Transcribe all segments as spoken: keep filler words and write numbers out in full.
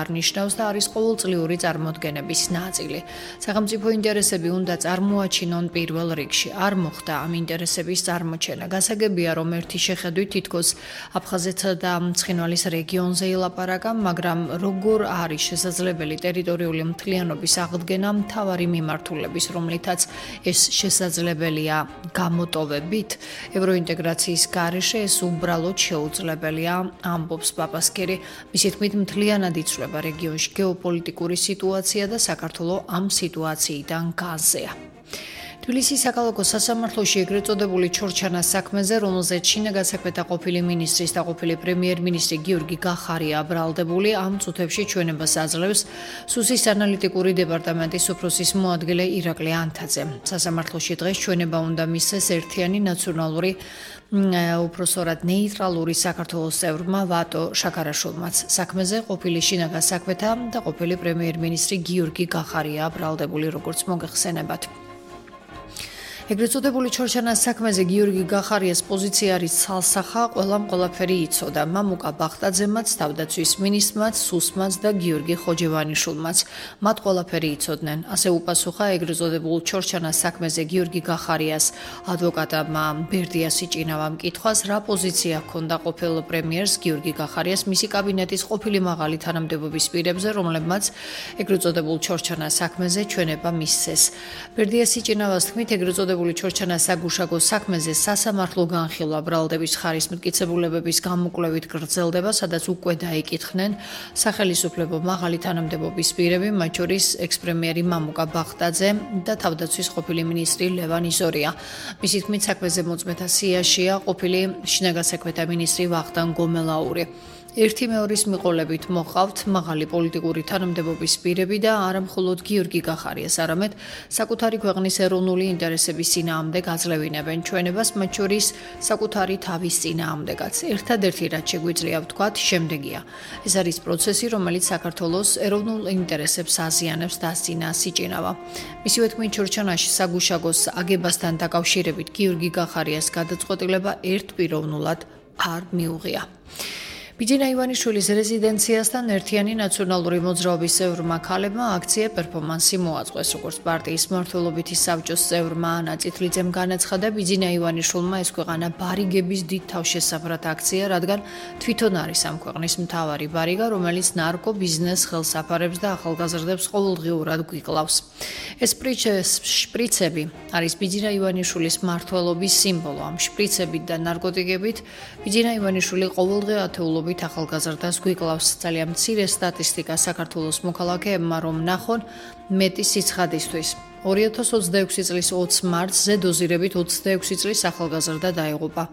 არნიშნავს და არის ყოველწლიური წარმოდგენების ნაწილი. სახელმწიფო ინტერესები უნდა წარმოაჩინონ პირველ რიგში. არ მოხდა ამ ინტერესების წარმოჩენა. გასაგებია, რომ ერთი შეხედვით თითქოს აფხაზეთსა და ცხინვალის რეგიონზე ილაპარაკა, მაგრამ როგორ არის შესაძლებელი ტერიტორიული მთლიანობის აღდგენა მთავარი მიმართულების, რომლითაც ეს შესაძლებელია გამოტოვებით? ევროინტეგრაციის გარეშე ეს უბრალოდ შეუძლებელია, ამბობს პაპასკერი. მისი თქმით, მთლიანად იცვლება რეგიონში გეოპოლიტიკური სიტუაცია და საქართველოს ამ სიტუაციიდან განზეა. თბილისის საქალაქო სასამართლოში ეგრეთ წოდებული ჩორჩანას საქმეზე, რომელზეც შინაგან საქმეთა ყოფილი მინისტრის და ყოფილი პრემიერ-მინისტრი გიორგი გახარია აბრალდებული, ამ წუთებში ჩვენებას აძლევს სუსის ანალიტიკური დეპარტამენტის უფროსის მოადგილე ირაკლი ანთაძე. სასამართლოში დღეს ჩვენება უნდა მისცეს ერთიანი ნაციონალური უფროსორად ნეიტრალური საქართველოს წევრმა ვატო შაქარაშვილმაც. საქმეზე ყოფილი შინაგან საქმეთა და ყოფილი პრემიერ-მინისტრი გიორგი გახარია აბრალდებული, როგორც მოგეხსენებათ. ეგრეთ წოდებული ჩორჩანას საქმეზე გიორგი გახარიას პოზიცია არის ცალსახა, ყველამ ყველაფერი იცოდა. მამუკა ბახტაძემაც, თავდაცვის მინისტრმაც, სუსმაც და გიორგი ხოჯევანიშვილმაც. მათ ყველაფერი იცოდნენ. ასე უპასუხა ეგრეთ წოდებულ ჩორჩანას საქმეზე გიორგი გახარიას ადვოკატმა ბერდია სიჭინავამ კითხვას, რა პოზიცია ჰქონდა ყოფილ პრემიერს გიორგი გახარიას მისი კაბინეტის ყოფილი მაღალი თანამდებობის პირებზე, რომლებმაც ეგრეთ წოდებულ ჩორჩანას საქმეზე ჩვენება მისცეს. ბერდია სიჭინავას თქმით, ეგრეთ წოდებულ ჩორჩანას საგუშაგო საქმეზე სასამართლო განხილვა ბრალდების ხარის მტკიცებულებების გამოკვლევით გრძელდება, სადაც უკვე დაიკითხნენ სახელისუფლებო მაღალი თანამდებობის პირები, მათ შორის ექს-პრემიერი მამუკა ბახტაძე და თავდაცვის ყოფილი მინისტრი ლევან იზორია. მისი თქმით, საქმეზე მოწმეთა სიაშია ყოფილი შინაგან საქმეთა მინისტრი ვახტანგ გომელაური. ერთი მეორის მიყოლებით მოყავთ მაღალი პოლიტიკური თანამდებობის პირები და არა მხოლოდ გიორგი გახარიას, არამედ საკუთარი ქვეყნის ეროვნული ინტერესების წინააღმდეგ აძლევინებენ ჩვენებას, მათ შორის საკუთარი თავის წინააღმდეგაც. ერთადერთი რაც შეგვიძლია ვთქვათ, შემდეგია. ეს არის პროცესი, რომელიც საქართველოს ეროვნულ ინტერესებს აზიანებს, დასძინა სიჭინავა. მისივე თქმით, ჩორჩანაში საგუშაგოს აგებასთან დაკავშირებით გიორგი გახარიას გადაწყვეტილება ერთპიროვნულად არ მიუღია. ბიძინა ივანიშვილის რეზიდენციასთან ერთიანი ნაციონალური მოძრაობის წევრმა ქალებმა აქცია პერფორმანსი მოაწყვეს, როგორც პარტიის მმართველობითი საბჭოს წევრმა ანა წითლიძემ განაცხადა, ბიძინა ივანიშვილმა ეს ქვეყანა ბარიგების დიდ თავშესაფრად აქცია, რადგან თვითონ არის ამ ქვეყნის მთავარი ბარიგა, რომელიც ნარკო ბიზნეს ხელსაფარებს და ახალგაზრდებს ყოველდღიურად გვიკლავს. ეს შპრიცები არის ბიძინა ივანიშვილის მმართველობის სიმბოლო. ამ შპრიცებით და ნარკოტიკებით ბიძინა ივანიშვილი ყოველდღე ათეულობით ახალგაზრდას გვიკლავს. ძალიან მცირე სტატისტიკა საქართველოს მოქალაქეებმა რომ ნახონ მეტი სიცხადისთვის. ორი ათას ოცდაექვსი წლის ოცი მარტს ზედოზირებით ოცდაექვსი წლის ახალგაზრდა დაიღუპა.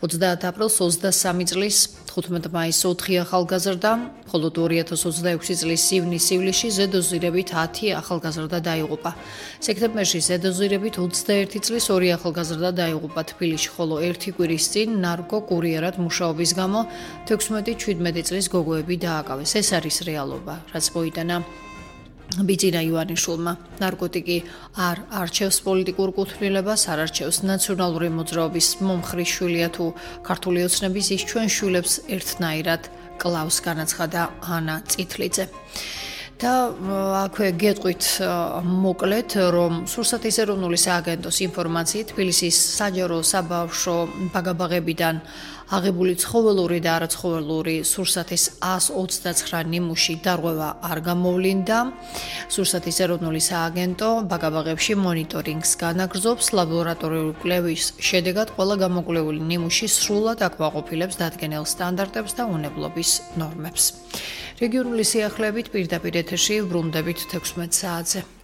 ოცდაათი აპრილს ოცდასამი წლის თხუთმეტი მაისს ოთხი ახალგაზრდა, მხოლოდ ორი ათას ოცდაექვსი წლის ივნის-ივლისში ზედოზირებით ათი ახალგაზრდა დაიღუპა. სექტემბერში ზედოზირებით ოცდაერთი წლის ორი ახალგაზრდა დაიღუპა თბილისში, ხოლო ერთი კვირის წინ ნარკო კურიერად მუშაობის გამო თექვსმეტი ჩვიდმეტი წლის გოგოები დააკავეს. ეს არის რეალობა, რაც მოიტანა ბიძინა ივანიშვილმა. ნარკოტიკი არ არჩევს პოლიტიკურ კუთვნილებას, არ არჩევს ნაციონალური მოძრაობის მომხრის შვილია თუ ქართული ოცნების, ის ჩვენ შვილებს ერთნაირად კლავს, განაცხადა ანა წითლიძე. და აქვე გეტყვით მოკლედ, რომ სურსათის ეროვნული სააგენტოს ინფორმაციით თბილისის საჯარო საბავშვო ბაგაბაღებიდან აღებული ცხოველური და არაცხოველური სურსათის ას ოცდაცხრა ნიმუში დარღვევა არ გამოვლინდა. სურსათის ეროვნული სააგენტო ბაგაბაღებში მონიტორინგს განაგრძობს, ლაბორატორიული კვლევის შედეგად ყველა გამოკვლეული ნიმუში სრულად აკმაყოფილებს დადგენილ სტანდარტებს და უნებლობის ნორმებს. რეგიონული სიახლეებით პირდაპირ ეთერში ვრუნდებით თექვსმეტ საათზე.